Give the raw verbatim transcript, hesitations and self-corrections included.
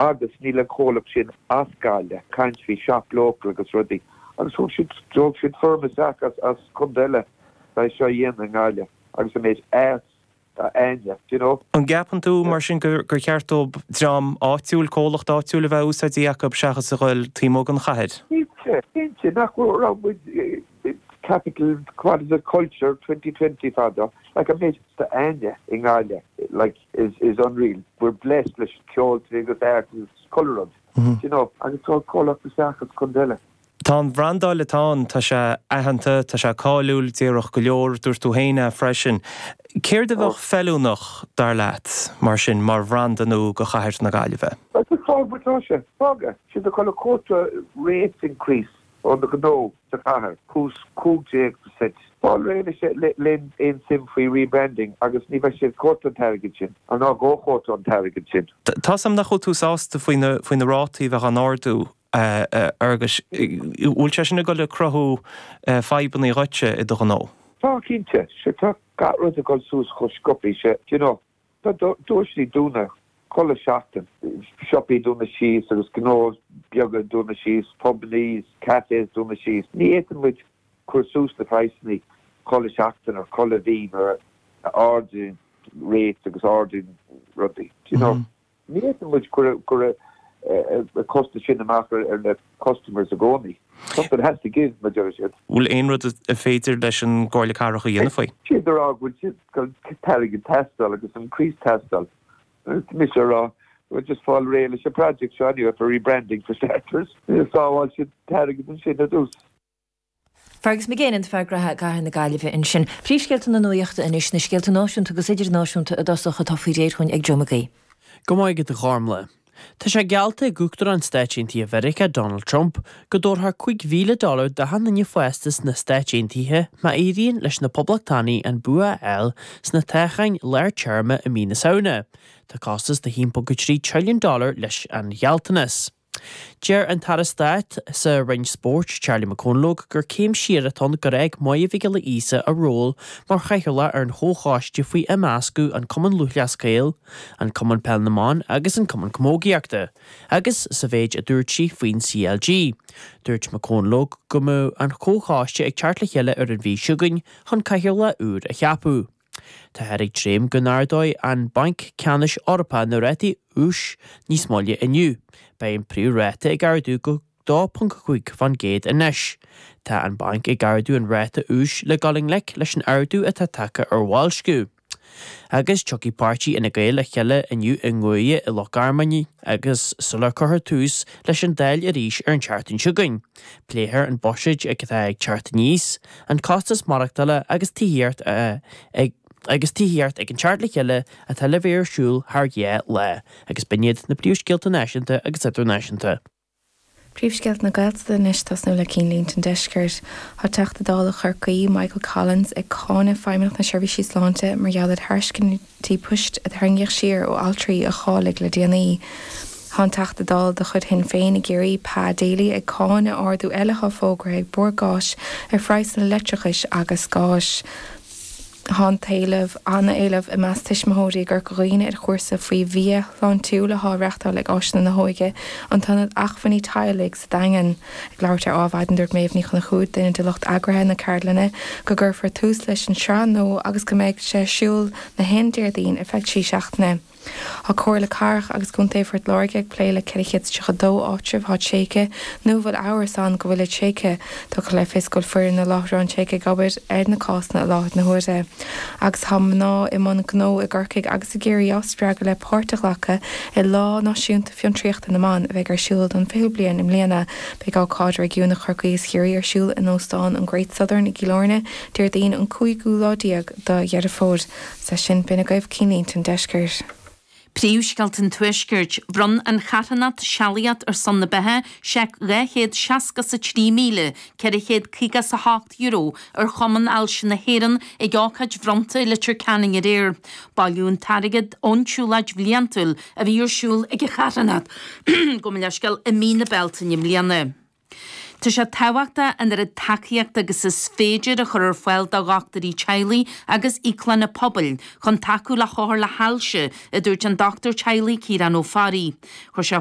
Agus níl an comhlacht sin as Gaillimh, caint faoi shop local agus rudaí. Agus thug siad thug siad firm isteach as as contae eile é seo a dhéanamh i nGaillimh agus an méid arts atá a'inne, do you know. An gceapann tú mar sin gur gur cheart dóibh dream áitiúil, comhlacht áitiúil a bheith úsáidte acu seachas a ghoil taobh amuigh den chathair? Cinnte, cinnte, nach raibh muid capital what is it culture twenty twenty fadó, like an méid atá a'inne i nGaillimh like is is unreal. We're blessed leis ceoltóirí agus art agus chuile rud, do you know, agus tá comhlacht isteach as contae eile. Tá an bhrandáil atá ann, tá sé aitheanta, tá sé cáiliúil, déarfadh go leor, dúirt tú féin é freisin. Céard a bheadh feiliúnach, dar leat, mar sin, mar bhranda nua do chathair na Gaillimhe? Bhuel, just fág mar atá sé. Fág é. Siad ag dul a quota rates increase ó na gnó sa chathair, cús cúig déag percent. Fáil réidh leis le aon suim faoi rebranding agus ní bheidh siad quota an t-airgead sin, ná dhá quota an t-airgead sin. Tá 's a'm nach bhfuil tú sásta faoi na faoi na rátaí a bheith á n-ardú. A Fhearghuis, bhfuil sé sin ag dul ag cruthú fadhbanna dhuitse i do ghnó? Tá, cinnte. Sea, tá gach rud ag dul suas chomh sciobtha sin, do you know. Tá doirse ag dúnadh chuile seachtain, siopaí ag dúnadh síos agus gnó beaga ag dúnadh síos, pubannaí, cafés ag dúnadh síos. Ní fhéadann muid cur suas na praghsanna chuile seachtain or chuile mhí mar a ardaíonn rates agus ardaíonn rudaí, do you know. Ní fhéadann muid cur cur an costas sin amach ar na customers i gcónaí. Something has to give, mar deir siad. Bhfuil aon rud a féidir leis an gComhairle Cathrach a dhéanamh faoi? Siad ag rá go bhfuil siad go t-airgead teastáil agus an increase teastáil. Mise ag rá, well just fáil réidh leis an project seo anyway for rebranding for starters. Sábháil siad t-airgead ansin ar dtús. Fergus McGinn, an fear graithe i gCathair na Gaillimhe ansin. Príomhscéalta na nuachta anois, na scéalta náisiúnta agus idirnáisiúnta i dtosach atá faoi réir chugainn ag Joe McGee. Go maith agat a Ghormlaith. Tá sé geallta ag Uachtarán Stáit Aontaithe Mheiriceá, Donald Trump, go dtabharfar cúig mhíle dollar d'achan duine fásta sna Stáit Aontaithe má éiríonn leis na Poblachtánaigh an bua a fháil sna toghcháin lár téarma i mí na Samhna. Tá costas de a haon ponc a trí trilliún dollar leis an ghealltanas. Deir an tAire Stáit sa Roinn Spóirt, Charlie McConalogue, gur céim siar atá ann gur fhág Máire Mhic Giolla Íosa a ról mar chathaoirleach ar an chomhchoiste faoi imeascadh an Cumann Lúthchleas Gael, an Cumann Peil na mBan agus an Cumann Camógaíochta, agus sa mhéid a dúirt sí faoin C L G. Dúirt McConalogue go mbeadh an comhchoiste ag teacht le chéile ar an mhí seo chugainn chun cathaoirleach úr a cheapadh. Táthar ag dréim go n-ardóidh an Banc Ceannais Eorpach na rátaí úis níos moille inniu. Beidh an príomhráta ag ardú go dó ponc cúig faoin gcéad anois. Tá an banc ag ardú an ráta úis le dul i ngleic leis an ardú atá tagtha ar bhoilsciú. Agus tiocfaidh páirtí Fhine Gael le chéile inniu i nGuaire i Loch Garman agus sular cuirfear tús leis an Dáil arís ar an tseachtain seo chugainn. Pléifear an buiséad atá ag teacht aníos, an costas maireachtála agus tithíocht ag agus tithíocht ag an teacht le chéile atá le bheith ar siúl thar dhá lá, agus b'in iad na príomhscéalta náisiúnta agus idirnáisiúnta. Príomhscéalta na Gaeltachta anois tosnú le Cinnlínte an Deiscirt. Tá Teachta Dála Chorcaí Michael Collins ag cáineadh Feidhmeannacht na Seirbhísí Sláinte mar gheall ar thairiscintí poist a tarraingíodh siar ó altraí a cháiligh le déanaí. Tá an Teachta Dála de chuid Shinn Féin i gCiarraí Pa Daly ag cáineadh ardú eile atá fógartha ag Bord Gáis ar phraghsanna leictreachais agus gáis. Tá an t-éileamh an-éileamh i measc tuismitheoirí i gCorca Dhuibhne ar chúrsa faoi bhia shláintiúil atá á reáchtáil ag Áiseanna na hÓige, an tIonad Acmhainní Teaghlaigh sa Daingean. Ag labhairt ar Adhmhaidin dúirt Méabh Ní Chonchúir, duine de lucht eagraithe na ceardlainne, go gcuirfear tús leis an sraith nua agus go mbeidh sé ar siúl na haon Déardaoin ar feadh trí seachtaine. Tá Comhairle Cathrach agus Contae Phort Láirge ag plé le ceithre chéad is tríocha dó áitreabh atá tréigthe nó a bhfuil amhras ann go bhfuil tréigthe. Tugtar le fios go bhfuil foireann na láithreán tréigthe ag obair ar na cásanna i láthair na huaire. Agus tá mná i mbun gnó i gCorcaigh agus i gCiarraí á spreagadh le páirt a ghlacadh i Lá Náisiúnta Fiontraíochta na mBan a bheidh ar siúl don fichiú bliain i mbliana. Beidh ócáid réigiúnach Chorcaí is Chiarraí ar siúl in Óstán an Great Southern i gCill Airne Déardaoin an cúigiú lá déag de Dheireadh Fómhair. Sa sin b'in agaibh Cinnlínte an Deiscirt. Príomhscéalta an Tuaiscirt, Bhronn an charthanacht Sealaíocht ar son na Beatha seic dhá chéad seasca 's a trí míle ceithre chéad caoga 's a hocht euro ar Chumann Ailse na hÉireann ag ócáid bhronnta i Leitir Ceanainn aréir. Bailíodh an t-airgead ón tsiúlóid bhliantúil a bhí ar siúl ag an charthanacht, gabh mo leithscéal, i mí na Bealtaine i mbliana. Tá sé tábhachtach an oiread tacaíochta agus is féidir a chur ar fáil do dhochtúirí teaghlaigh agus íoclanna pobail chun tacú le hothair le hailse, a dúirt an dochtúir teaghlaigh Ciarán Ó Fearraigh. Chuir sé